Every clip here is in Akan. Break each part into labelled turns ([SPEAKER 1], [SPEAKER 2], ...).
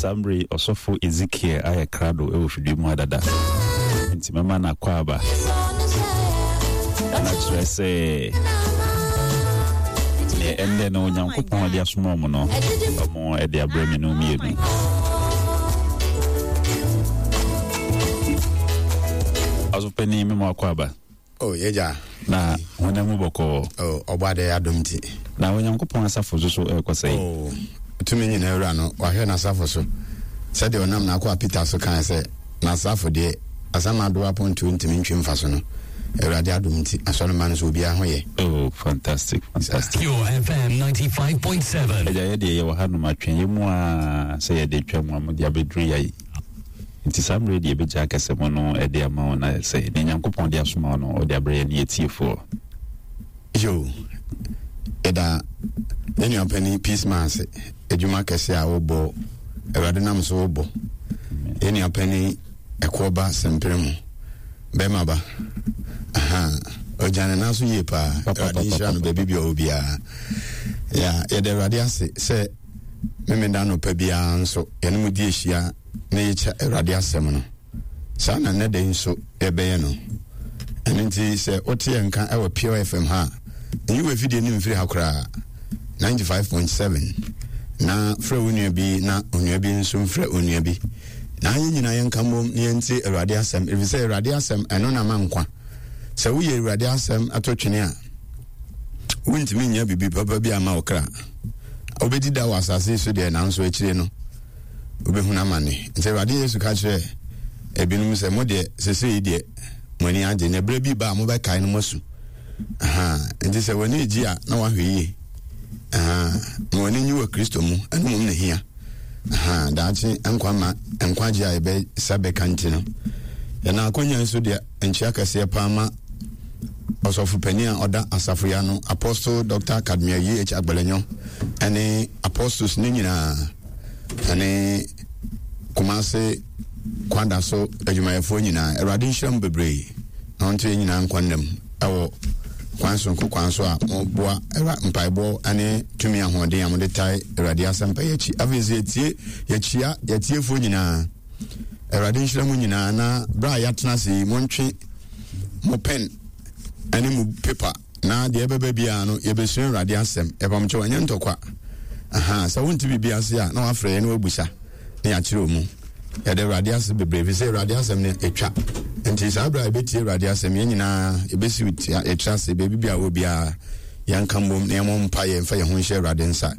[SPEAKER 1] Saa mmerɛ yi ɔsɔfo Ezekiel ayɛ krado wɔ fidua mu ha dada. Nti mɛma no akɔ aba. Na kyerɛ sɛ neɛ ɛndɛ no Onyankopɔn de asoma ɔmo no, ɔmo de abrɛ me no mmienu. Ɔsɔfo mema akɔ aba.
[SPEAKER 2] Oh, yɛgya.
[SPEAKER 1] Na honam mu bɔkɔɔ.
[SPEAKER 2] Oh, ɔbɔ adɛ adom nti.
[SPEAKER 1] Na Onyankopɔn asafo nso so ɛrekɔ sɛn?
[SPEAKER 2] Oh, tumi nyinaa wura no, wahwɛ n'asafo so. Sɛdeɛ ɔnam n'akoa Peter so kae sɛ, n'asafo deɛ, asamando apontoɔ ntumi ntwe mfa so no, Awurade adom nti, asɔremma no so obiara ho yɛ.
[SPEAKER 1] Oh, fantastic, fantastic.
[SPEAKER 3] Pure FM 95.7.
[SPEAKER 1] Agya, yɛ deɛ yɛwɔ hanom atwɛn yɛ mu a sɛ yɛde twa mu a mode abɛduru yɛ. Nti saa mmerɛ yi deɛ yɛbɛgya akasɛmu no de ama wo na sɛ deɛ Nyankopɔn de asoma wo no ɔde abrɛ yɛne yɛtiefoɔ.
[SPEAKER 2] Yo, yɛda yɛn nua panin Peace Man ase adwuma kɛse a wobɔ Awurade nam so wobɔ yɛn nua panin Ɛkoɔba Sempere mu bɛrima ba aha ɔgya ne nan so yie paa Awurade nhyira no baabi bia ɔwɔ biara yɛda Awurade ase sɛ Memeda anɔpa biara nso, yɛne mo di ahyia na yɛkyɛ Awurade asɛm no. Saa na nnɛ da yi nso yɛbɛyɛ no. Ɛno nti sɛ wote yɛn nka wɔ Pure FM ha a, nyi w'afidie no mfiri ha koraa. 95.7 na frɛ wo nua bi na onua bi nso mfrɛ onua bi. Na yɛn nyinaa yɛnka mmom na yɛntie Awurade asɛm, ɛfiri sɛ Awurade asɛm ɛno na ma nkwa. Sɛ woyɛ Awurade asɛm to twene a, wontumi nnya biribi papa bi ama wo kra. Wobɛdi da wɔ asase so deɛ, nanso akyire no wobɛhunu amane. Nti Awurade Yesu ka kyerɛ ebinom sɛ, mo deɛ sesei deɛ mo ani agye, na berɛ bi ba a mobɛkae no moasu. Nti sɛ w'ani gye a na wahwɛ yie. Ma w'ani nye wɔ Kristo mu, ɛno mmom na hia. Daakye nkwa ma nkwagye a yɛbɛsa bɛka nti no, yɛn akonya nso deɛ nkyia kɛseɛ paa ma Ɔsɔfo panin a ɔda asafo yi ano, Apostle Dr. Kadmiel E.H. Agbelenyo, ɛne apostles no nyinaa, ɛne Kumase kwada so adwumayɛfoɔ nyinaa. Awurade nhyira mu bebree na ɔnto yɛn nyinaa nkwa nnam ɛwɔ kwan soronko kwan so a moboa mpaebɔ ne tumi ahoɔden a mode tae Awurade asɛmpa yi akyi. Afei nso yɛtie yɛkyia yɛtiefoɔ nyinaa. Awurade nhyira mu nyinaa na berɛ a yɛatena ase yi montwe mo pen ne mo paper na deɛ ɛbɛba biara no yɛbɛsua Awurade asɛm. Yɛpamkyɛw ɛnyɛ ntɔkwa. Aha, sɛ wonte biribi ase a na wafrɛ yɛn na wabusa na yɛakyerɛ mu. Yɛde Awurade ase bebree fi sɛ Awurade asɛm no ɛtwa. Nti saa berɛ a yɛbɛtie Awurade asɛm yɛn nyinaa yɛbɛsi yɛtra ase baabi bi a wɔ biara yɛnka mbom na yɛmmɔ mpa yɛn mfa yɛn ho nhyɛ Awurade nsa.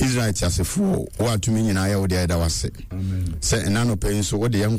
[SPEAKER 2] Israel teasefoɔ wo a tumi nyinaa yɛ wo deɛ yɛda wo ase sɛ ɛna anɔpa yi nso wode yɛn.